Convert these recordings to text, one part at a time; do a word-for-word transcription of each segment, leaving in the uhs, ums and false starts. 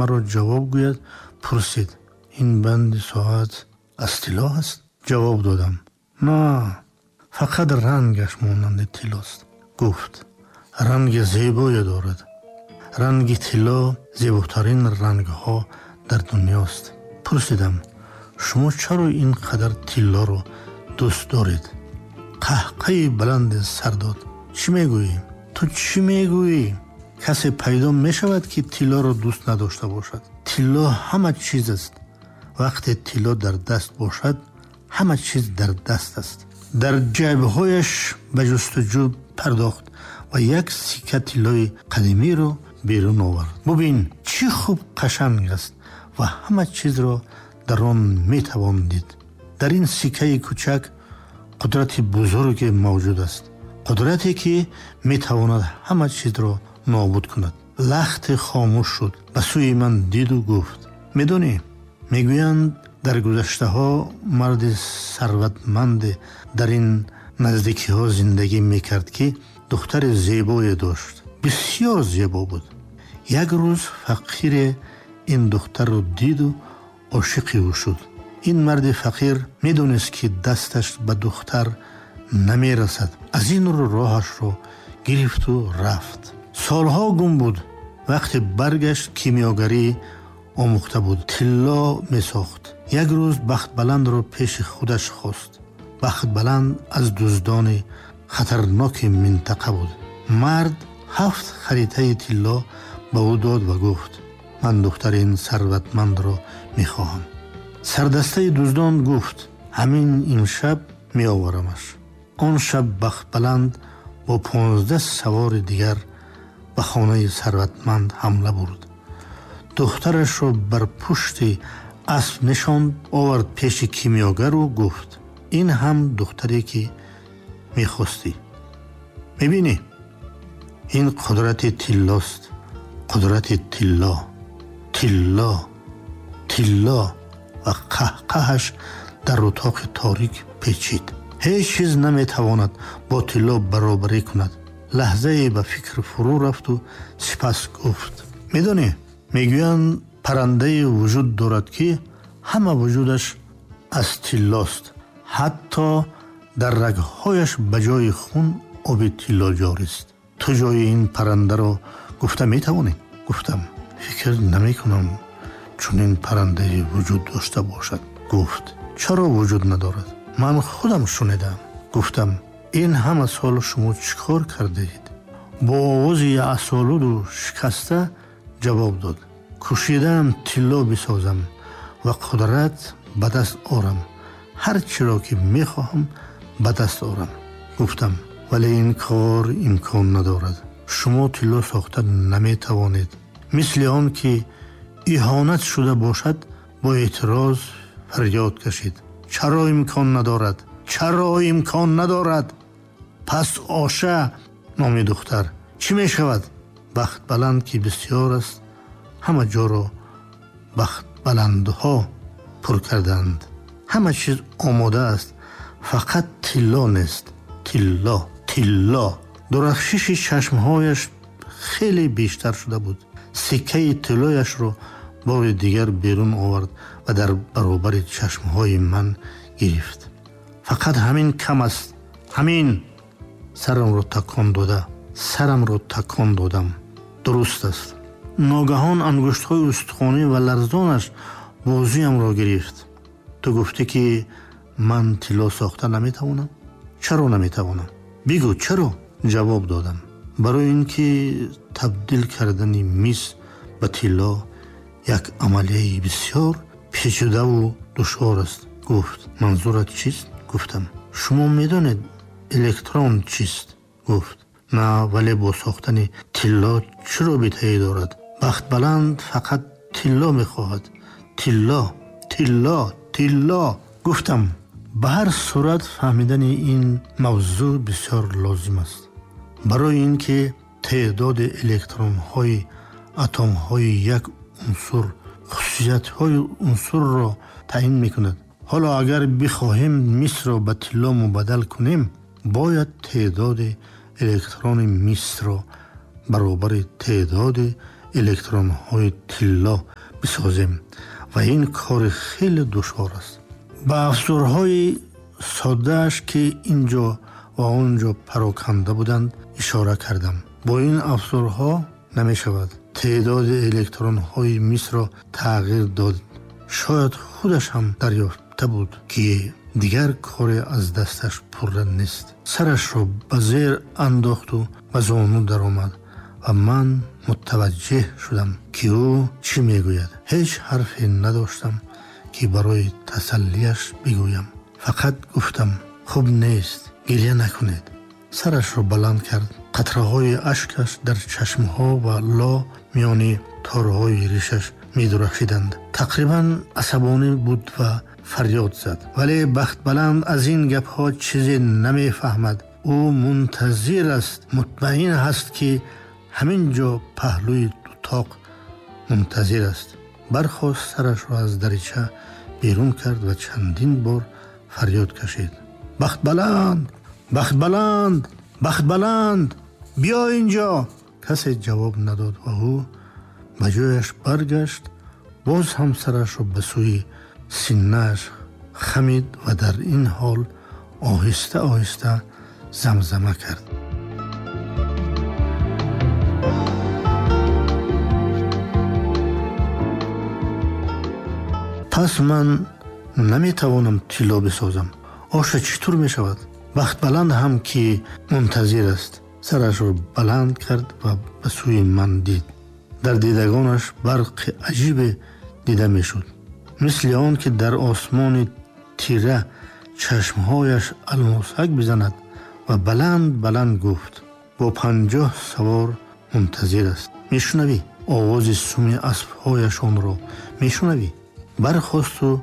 маро ҷавоб гӯяд, пурсид: ин банди соат аз тилло аст? Ҷавоб додам: на, фақат рангаш монанди тиллост. Гуфт: ранги зебое дорад. Ранги тилло зеботарин рангҳо дар дунёст. Пурсидам: шумо чаро ин қадар тиллоро дӯст доред? Қаҳқаи баланде сар дод. Чӣ мегӯӣ? Ту чӣ мегӯӣ? Касе пайдо мешавад, ки тиллоро дӯст надошта бошад. Тилло ҳама чиз аст. Вақте тилло дар даст бошад, ҳама чиз дар даст аст. Дар ҷайбҳояш ба ҷустуҷӯ пардохт ва як сикка тиллои қадимиро берун овард. Бубин, чӣ хуб қашанг аст ва ҳама чизро дар он метавон дид. Дар ин сиккаи кӯчак қудрати бузурге мавҷуд аст, қудрате ки метавонад ҳама чизро нобуд кунад. Лахте хомӯш шуд, ба сӯи ман диду гуфт: медонӣ, мегӯянд дар гузаштаҳо марди сарватманде дар ин наздикиҳо зиндагӣ мекард, ки духтари зебое дошт. Бисёр зебо буд. Як рӯз фақире ин духтарро диду ошиқи ӯ шуд. Ин марди фақир медонист, ки дасташ ба духтар намерасад. Аз ин рӯ роҳашро гирифту рафт. Солҳо гум буд. Вақте баргашт, кимиёгарӣ омӯхта буд, тилло месохт. Як рӯз Бахтбаландро пеши худаш хост. Бахтбаланд аз дуздони хатарноки минтақа буд. Мард ҳафт харитаи тилло ба ӯ дод ва гуфт: ман духтари ин сарватмандро мехоҳам. Сардастаи дуздон гуфт: ҳамин имшаб меоварамаш. Он шаб Бахтбаланд бо понздаҳ савори дигар ба хонаи сарватманд ҳамла бурд. Духтарашро бар пушти асп нишонд, овард пеши кимиёгару гуфт: ин ҳам духтаре ки мехостӣ. Мебинӣ, ин қудрати тиллост. Қудрати тилло, тилло, тилло. Ва қаҳқаҳаш дар утоқи торик печид. Ҳеҷ чиз наметавонад бо тилло баробарӣ кунад. Лаҳзае ба фикр фурӯ рафту сипас гуфт: медонӣ, мегӯянд паррандае вуҷуд дорад, ки ҳама вуҷудаш аз тиллост. Ҳатто дар рагҳояш ба ҷои хун оби тилло ҷорист. Ту ҷои ин паррандаро гуфта метавонӣ? Гуфтам: фикр намекунам чунин паррандае вуҷуд дошта бошад. Гуфт: чаро вуҷуд надорад? Ман худам шунидам. Гуфтам: ин ҳама сол шумо чӣ кор кардаед? Бо овози асолуду шикаста ҷавоб дод: кӯшидаам тилло бисозам ва қудрат ба даст орам. Ҳар чиро ки мехоҳам ба даст орам. Гуфтам: вале ин кор имкон надорад. Шумо тилло сохта наметавонед. Мисли он ки иҳонат шуда бошад, бо эътироз фарёд кашид: чаро имкон надорад? Чаро имкон надорад? Пас Оша, номи духтар, чӣ мешавад? Бахтбаланд ки бисёр аст, ҳама ҷоро бахтбаландҳо пур карданд. Ҳама чиз омода аст, фақат тилло нест. Тилло, тилло. Дурахшиши чашмҳояш хеле бештар шуда буд. Сиккаи тиллояшро бори дигар берун овард ва дар баробари чашмҳои ман гирифт. Фақат ҳамин кам аст, ҳамин. Сарамро такон дода, сарамро такон додам. Дуруст аст. Ногаҳон ангуштҳои устухонӣ ва ларзонаш бозиямро гирифт. Ту гуфтӣ, ки ман тилло сохта наметавонам? Чаро наметавонам? Бигӯ, чаро? Ҷавоб додам: барои ин ки табдил кардани мис ба тилло як амалияи бисёр печидаву душвор аст. Гуфт: манзурат чист? Гуфтам: шумо медонед электрон чист? Гуфт: на, вале бо сохтани тилло чӣ робитае дорад? Бахтбаланд фақат тилло мехоҳад. Тилло, тилло, тилло. Гуфтам: ба ҳар сурат фаҳмидани ин мавзӯъ бисёр лозим аст. Барои ин ки теъдоди электронҳои атомҳои як унсур хусусиятҳои унсурро таъин мекунад. Ҳоло агар бихоҳем мисро ба тилло мубаддал кунем, бояд теъдоди электрони мисро баробари теъдоди электронҳои тилло бисозем ва ин кори хеле душвор аст. Ба афзорҳои соддааш, ки инҷо ва он ҷо пароканда буданд, ишора кардам. Бо ин афзорҳо намешавад теъдоди электронҳои мисро тағйир дод. Шояд худаш ҳам дарёфта буд, ки дигар коре аз дасташ пурра нест. Сарашро ба зер андохту ба зону даромад ва ман мутаваҷҷеҳ шудам, ки ӯ чӣ мегӯяд. Ҳеҷ ҳарфе надоштам, ки барои тасаллияш бигӯям. Фақат гуфтам: хуб нест, гиря накунед. Сарашро баланд кард. Қатраҳои ашкаш дар чашмҳо ва ло миёни торҳои ришаш медурахшиданд. Тақрибан асабонӣ буд ва фарёд зад. Вале Бахтбаланд аз ин гапҳо чизе намефаҳмад. Ӯ мунтазир аст, мутмаин ҳаст, ки ҳамин ҷо паҳлӯи дутоқ мунтазир аст. Бархост, сарашро аз дарича берун кард ва чандин бор фарёд кашид: Бахтбаланд, Бахтбаланд, Бахтбаланд, биё инҷо! Касе ҷавоб надод ва ӯ ба ҷояш баргашт. Боз ҳам сарашро ба сӯи синнааш хамид ва дар ин ҳол оҳиста оҳиста замзама кард. Пас ман наметавонам тилло бисозам. Оша чӣ тур мешавад? Бахтбаланд ҳам ки мунтазир аст. Сарашро баланд кард ва ба сӯи ман дид. Дар дидагонаш барқи аҷибе дида мешуд, мисли он ки дар осмони тира чашмҳояш алмосак бизанад, ва баланд баланд гуфт: бо панҷоҳ савор мунтазир аст. Мешунавӣ овози суми аспҳояшонро? Мешунавӣ? Бархосту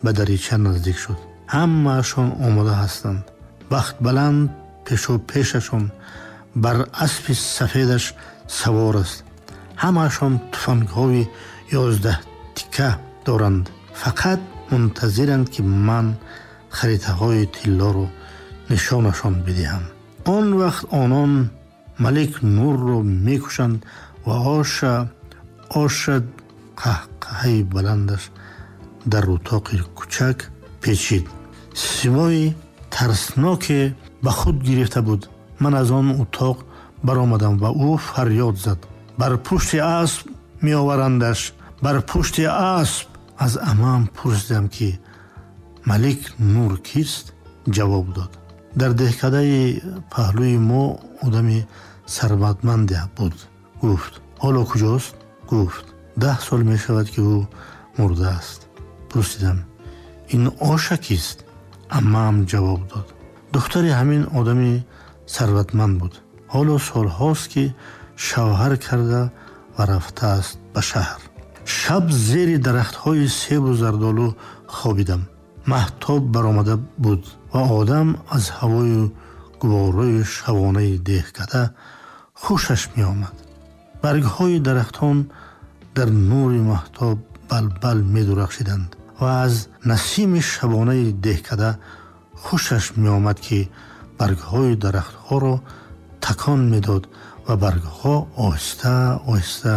ба дарича наздик шуд. Ҳамаашон омода ҳастанд. Бахтбаланд пешопешашон бар аспи сафедаш савор аст. Ҳамаашон туфангҳои ёздаҳ тика доранд. Фақат мунтазиранд, ки ман харитаҳои тиллоро нишонашон бидиҳам. Он вақт онон Малик Нурро мекушанд ва оша оша қаҳқаҳаи баландаш дар утоқи кӯчак печид. Симои тарсноке ба худ гирифта буд. Ман аз он утоқ баромадам ва ӯ фарёд зад: бар пушти асп меоварандаш, бар пушти асп! Аз амаам пурсидам, ки Малик Нур кист? Ҷавоб дод: дар деҳкадаи паҳлӯи мо одами сарватманде буд. Гуфт: ҳоло куҷост? Гуфт: даҳ сол мешавад, ки ӯ мурдааст. Пурсидам: ин Оша кист? Амаам ҷавоб дод: духтари ҳамин одами сарватманд буд. Ҳоло солҳост, ки шавҳар карда ва рафтааст ба шаҳр. Шаб зери дарахтҳои себу зардолу хобидам. Маҳтоб баромада буд ва одам аз ҳавою гуворои шабонаи деҳкада хушаш меомад. Баргҳои дарахтон дар нури маҳтоб балбал медурахшиданд ва аз насими шабонаи деҳкада хушаш меомад, ки баргҳои дарахтҳоро такон медод ва баргҳо оҳиста оҳиста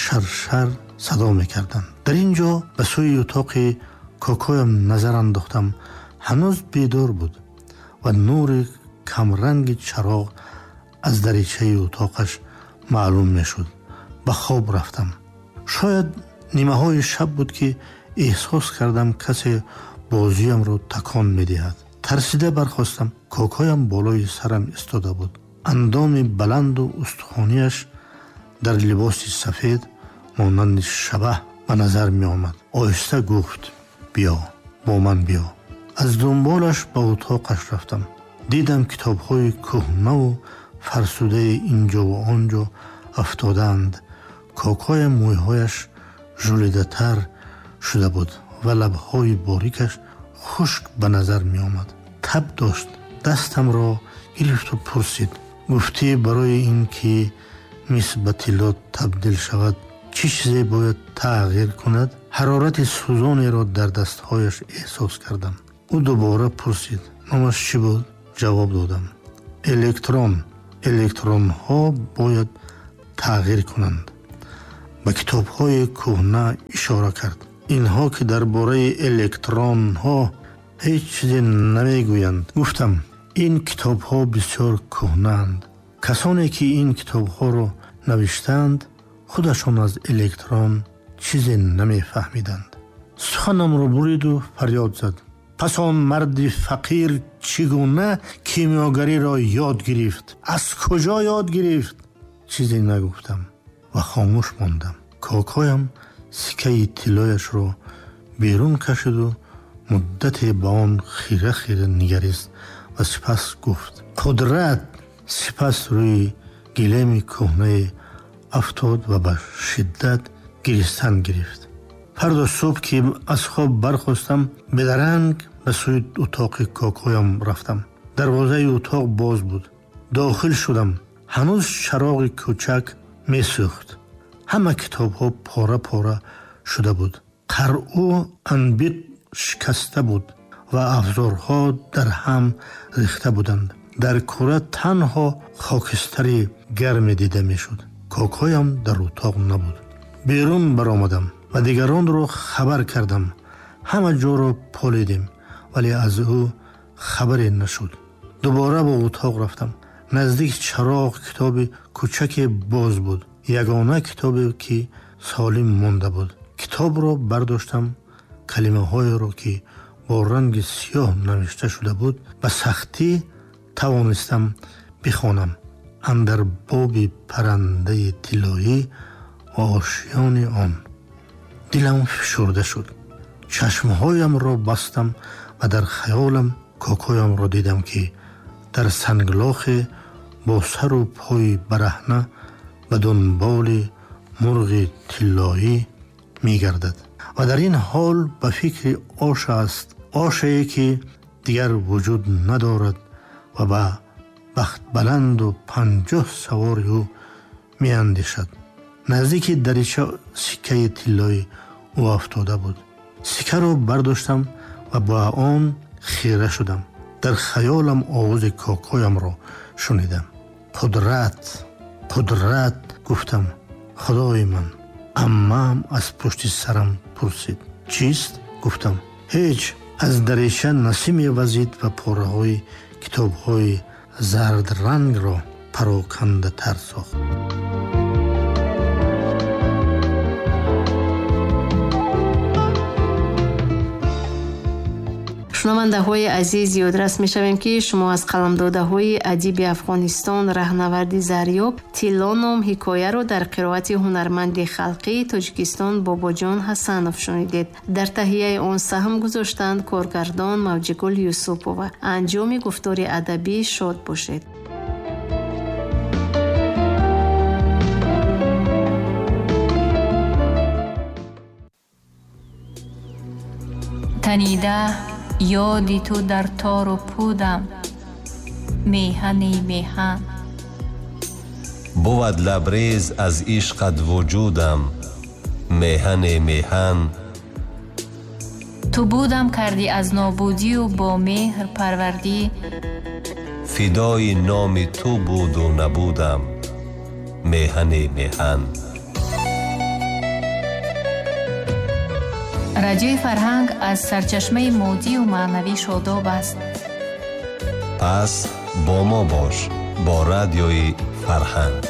шаршар садо мекарданд. Дар ин ҷо ба сӯи утоқи кокоям назар андохтам. Ҳанӯз бедор буд ва нури камранги чароғ аз даричаи утоқаш маълум мешуд. Ба хоб рафтам. Шояд нимаҳои шаб буд, ки эҳсос кардам касе бозиямро такон медиҳад. Тарсида бархостам. Кокоям болои сарам истода буд. Андоми баланду устухонияш дар либоси сафед монанди шабаҳ ба назар меомад. Оҳиста гуфт: биё, бо ман биё. Аз дунболаш ба утоқаш рафтам. Дидам, китобҳои кӯҳнаву фарсудаи инҷову он ҷо афтодаанд. Кокоям мӯйҳояш жулидатар шуда буд ва лабҳои борикаш хушк ба назар меомад. Таб дошт. Дастамро гирифту пурсид: гуфтӣ, барои ин ки мис ба тилло табдил шавад, чӣ чизе бояд тағйир кунад? Ҳарорати сӯзонеро дар дастҳояш эҳсос кардам. Ӯ дубора пурсид: номаш чӣ буд? Ҷавоб додам: электрон. Электронҳо бояд тағйир кунанд. Ба китобҳои кӯҳна ишора кард. Инҳо ки дар бораи электронҳо ҳеҷ чизе намегӯянд. Гуфтам ин китобҳо бисёр кӯҳнаанд. Касоне ки ин китобҳоро навиштаанд худашон аз электрон чизе намефаҳмиданд. Суханамро буриду фарёд зад. Пас он марди фақир чӣ гуна кимиёгариро ёд гирифт? Аз куҷо ёд гирифт? Чизе нагуфтам ва хомӯш мондам. Кокоям сикаи тиллояшро берун кашиду муддате ба он хира-хира нигарист ва сипас гуфт: қудрат. Сипас рӯи гилеми кӯҳнае афтод ва ба шиддат гиристан гирифт. Фардо субҳ ки аз хоб бархостам, бедаранг ба сӯи утоқи кокоям рафтам. Дарвозаи утоқ боз буд. Дохил шудам. Ҳанӯз чароғи кӯчак месӯхт. Ҳама китобҳо пора-пора шуда буд. Қаръу анбит шикаста буд ва афзорҳо дар ҳам рехта буданд. Дар кура танҳо хокистари гарме дида мешуд. Кокоям дар утоқ набуд. Берун баромадам ва дигаронро хабар кардам. Ҳама ҷоро полидем, вале аз ӯ хабаре нашуд. Дубора ба утоқ рафтам. Наздик чароғ китоби кӯчаке боз буд. Ягона китобе ки солим монда буд. Китобро бардоштам. Калимаҳоеро ки бо ранги сиёҳ навишта шуда буд ба сахтӣ тавонистам бихонам. Андар боби паррандаи тиллоӣ ва ошиёни он. Дилам фишурда шуд. Чашмҳоямро бастам ва дар хаёлам кокоямро дидам ки дар санглохе бо сару пои бараҳна ба дунболи мурғи тиллоӣ мегардад ва дар ин ҳол ба фикри ош аст, ошее ки дигар вуҷуд надорад ва ба бахтбаланду панҷоҳ савори ӯ меандешад. Наздики дарича сиккаи тиллои ӯ афтода буд. Сиккаро бардоштам ва ба он хира шудам. Дар хаёлам овози кокоямро шунидам. Қудрат, қудрат, гуфтам. Худои ман. Аммаам аз пушти сарам пурсид: чист? Гуфтам: ҳеҷ. Аз дарича насиме вазид ва пораҳои китобҳои зардрангро парокандатар сохт. Шунавандаҳои азиз, ёдрас мешавем, ки шумо аз қаламдодаҳои адиби Афғонистон Раҳнаварди Зарёб «Тилло» ном ҳикояро дар қироати ҳунарманди халқии Тоҷикистон Бобоҷон Ҳасанов шунидед. Дар таҳияи он саҳм гузоштанд коргардон Мавҷигул Юсупова. Анҷоми гуфтори адабӣ шод бошед. Танида ёди ту дар тору пудам, меҳани меҳан. Бувад лабрез аз ишқат вуҷудам, меҳани меҳан. Ту будам кардӣ аз нобудию бо меҳр парвардӣ. Фидои номи ту буду набудам, меҳани меҳан. Радиои Фарҳанг аз сарчашмаи моддию маънавӣ шодоб аст. Пас бо мо бош, бо Радиои Фарҳанг.